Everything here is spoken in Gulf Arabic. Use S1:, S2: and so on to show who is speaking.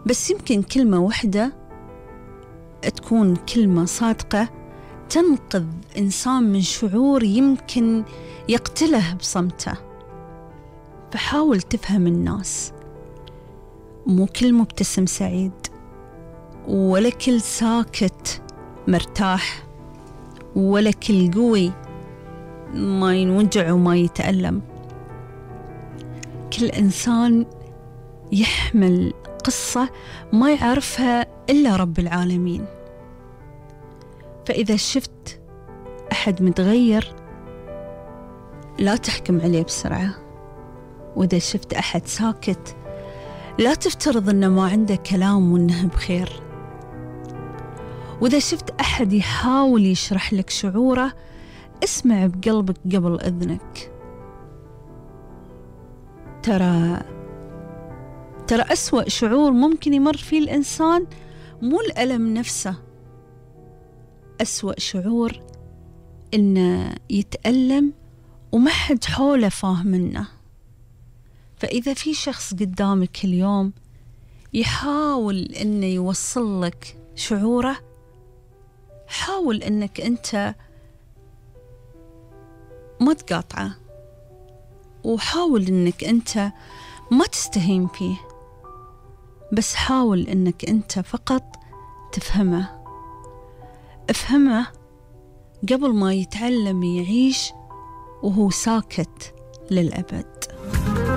S1: بس يمكن كلمة واحدة تكون كلمة صادقة تنقذ إنسان من شعور يمكن يقتله بصمته. فحاول تفهم الناس، مو كل مبتسم سعيد، ولا كل ساكت مرتاح، ولا كل قوي ما ينوجع وما يتألم. كل إنسان يحمل قصة ما يعرفها إلا رب العالمين. فإذا شفت أحد متغير لا تحكم عليه بسرعة، وإذا شفت أحد ساكت لا تفترض أنه ما عنده كلام وأنه بخير. وإذا شفت أحد يحاول يشرح لك شعوره اسمع بقلبك قبل إذنك. ترى أسوأ شعور ممكن يمر فيه الإنسان مو الألم نفسه، أسوأ شعور إنه يتألم وما حد حوله فاهم منه. فإذا في شخص قدامك اليوم يحاول إنه يوصل لك شعوره، حاول إنك أنت ما تقاطعه، وحاول إنك أنت ما تستهين فيه، بس حاول إنك أنت فقط تفهمه. افهمه قبل ما يتعلم يعيش وهو ساكت للأبد.